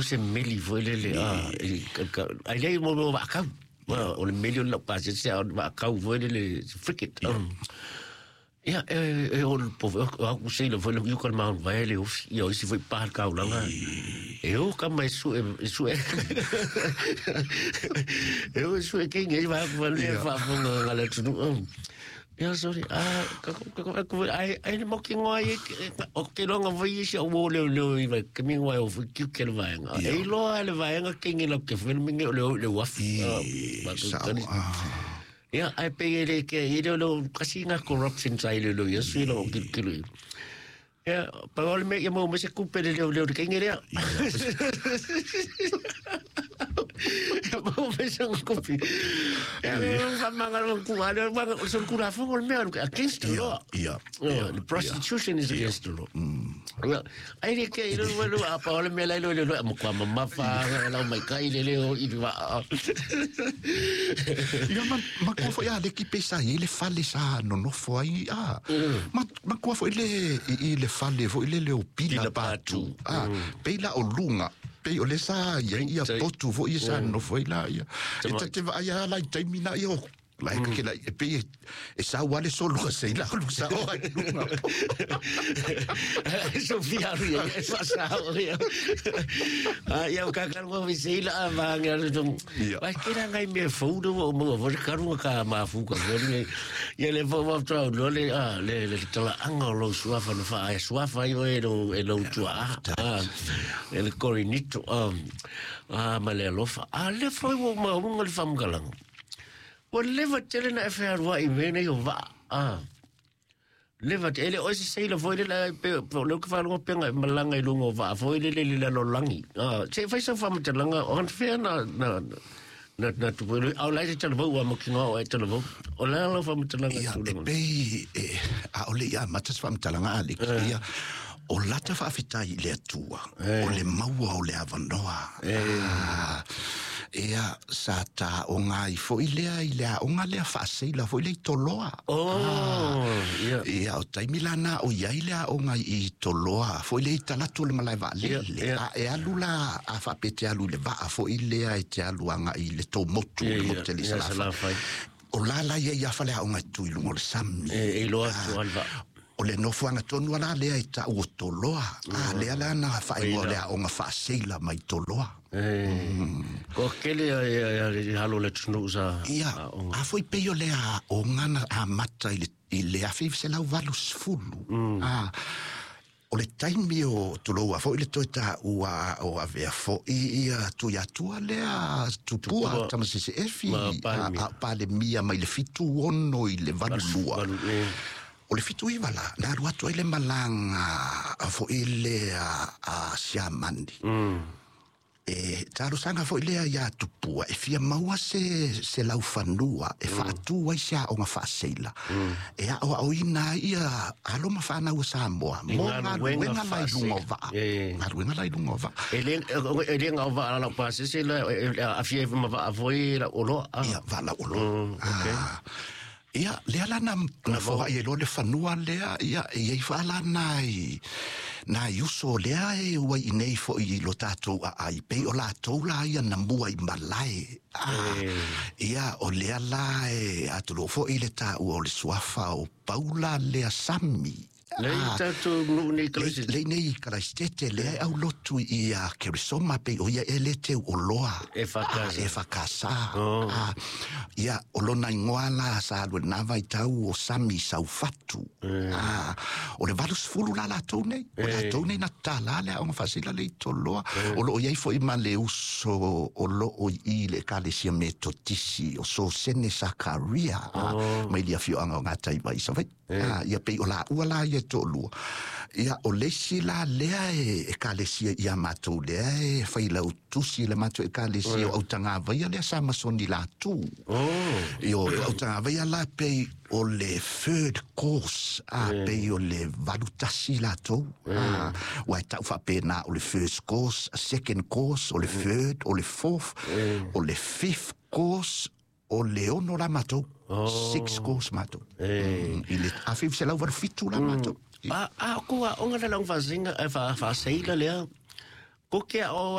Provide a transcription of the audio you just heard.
se meli foi lele ai lei mo mo vaakau. O le meli o le lau pasese a o le vaakau foi lele frigate. Ia, e o le pove, o au seila foi le uka le maun vai le ofi, ia o isi foi pa le kaulanga. E o ka mai su e su e. E o su e kengi e va ku le fa fonga nga le tunu. Ia sorry, ah ka ka ka ka ai ai le moki ngoa e o ke longa foi isi o le le i vai ke mi ngoa o foi ki ke le vaenga. E loa le vaenga kengi la ke foi mingi o le le wafi. Ia, ai pe e le ke i le lo kasi nga corruption sa ile lo ia sui lo kilo kilo. Ia, pa ole me ia mo me se kupe le le le ke ngere. Ia mo me se kupe. Ia, fa manga lo ku ale manga o se ku la fo me against the law. Ia. The prostitution is against the law. Ia, ai le ke i le lo a pa ole me la lo le lo mo kwa mama fa la mai kai le le o i va. Ia ma kua foi a le ki pesa i le fale sa nonofo ai a. Ma kua foi le i le fale foi le le o pila patu. A peila o lunga pe o le sa ia ia potu foi sa nonofo ai la ia. E tate va ia la i taimi na ia o la ke la e pe e sa wale solo se la lu sa o ai lunga. Sofia ia e fa sa o ia. A ia o ka ka mo vi se la va nga lu tung. Vai ke ra ngai me fo do o mo vo ka ru ka ma fu ka vo ni. Ia le fo vo tra lo le a le le tala anga lo suafa no fa e suafa i o e lo e lo tua a e le korinito a ma le alofa. A le fo o ma unga le famgalang. Ua leva tele na e whearua i mea nei o vaa. Ah. Leva tele, o se seila foi le la pe o le ka whalunga penga e malanga i lunga o vaa foi le le le lalo langi. Ah, se fai sa whamatalanga o han whea na na na na tupu au lai te talavau a mokinga o e talavau. O la la whamatalanga ia e pei e a ole ia mata se whamatalanga a le ia o lata whaafetai i le atua o le maua o le avanoa. Ia sa ta o ngā i foi lea i lea o ngā lea whaaseila foi lea i toloa. Oh, ia. Ia o taimi lana o iai lea o ngā i toloa foi lea i talatu le malae vaa lele. A e alu la a whaapete alu le vaa foi lea e te alu anga i le tō motu le motu le salawhai. O la la ia ia whalea o ngā tui lungo le sami. E loa tu alva. O le nofoanga tonu ala lea i ta o toloa. A lea la na whaingoa lea o ngā whaaseila mai toloa. Ko kele e halo le tunu sa. Ia, a foi peio lea o ngana a mata i le awhi se lau valu sfulu. O le taimi o tuloua foi le toe ta ua o avea foi ia tui atua lea tupua tamasese efi a palemia mai le 76 i le 82. O le 79 la, na alu atu ai le malanga foi le a Siamani. E talosanga foi lea ia tupua e fia maua se laufanua e faatu ai se aoga faaseila. E aoaoina ia alo ma whanau o Samoa mo galuega lai luga o vaa. Galuega lai luga o vaa. E le ngā o vaa lau pasese la afia e ma vaa foi la oloa. Ia vaa la oloa. Ia, lea la na foai e loa le fanua lea, ia, ia i whaala nai uso lea e ua i nei fo i lo tātou a ai, pei o lātou la ia na mua i malae. Ia, o lea la e atulo fo i le tāua o le suafa o Paula lea Sami. Lei tātou nuu nei kalaisete. Lei nei kalaisete, lea au lotu i a Kerisoma pe o ia e le teu o loa. E whakasa. E whakasa. Ia, o lona ingoa la sa alue nā vai tau o Sami Saufatu. O le 80 la lātou nei. O lātou nei na tāla lea o ngā whasila lei toloa. O loo iai fo i ma le uso o loo i le kalesia metotisi o so sene Sakaria. Mai lia fioanga o ngā taiwa i sawai. Ia pei o la ua la ia tōlua. Ia o lesi la lea e kalesia ia mātou lea e whailau tusi le mātou e kalesia o autanga vaia lea sa masoni la tū. Ia o autanga vaia la pei o le third course a pei o le 81 la tō. Ua e tau whapena o le first course, second course, o le third, o le fourth, o le fifth course, o le 6 la mātou. Six course mātou. I le 1987 la mātou. A kua onga na lang whasinga, whaseila lea, ko ke o